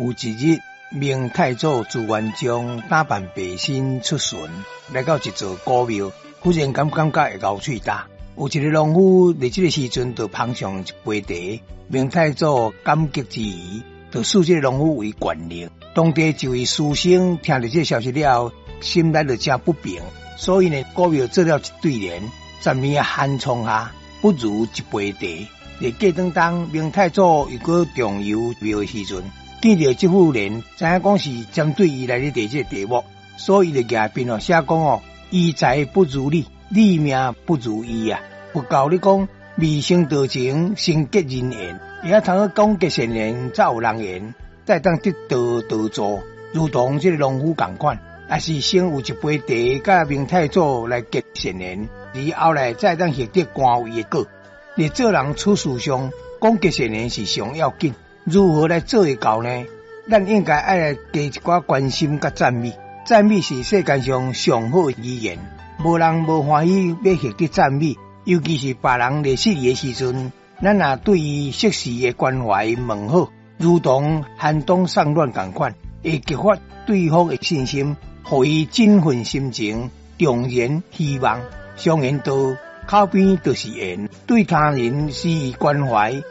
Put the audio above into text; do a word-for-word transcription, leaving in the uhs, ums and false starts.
有一日，明太祖朱元璋打扮白身出巡，來到一座古廟，忽然間感覺會𠢕喙焦。有一个農夫佇這个時陣就捧上一杯茶，明太祖感激之餘，就賜這个農夫為縣令。當地一位書生聽著這个消息了後，心內就誠不平，所以呢，古廟做了一對聯：十年寒窗下，不如一杯茶。佇過當當，明太祖又閣重遊廟的時陣，見著這副聯，知影講是針對伊來咧提這个題目，所以就舉筆哦寫講哦，醫才不如理，理命不如醫啊。佛教咧講，未成道前，先結人緣，會曉通講結善緣，才有人緣，才會當得道得助。如同這个農夫仝款，也是先有一杯茶，佮明太祖來結善緣，而後來才會當獲得官位的果。佇做人處事上，講結善緣是上要緊。如何來做會到呢？咱應該愛來加一寡關心佮讚美。讚美是世間上上好的語言，無人無歡喜欲獲得讚美，尤其是別人咧失意的時陣，咱若對伊適時的關懷問好，如同寒冬送暖仝款，會激發對方的信心，予伊振奮心情，重燃希望。常言道，口邊就是緣，對他人施以關懷，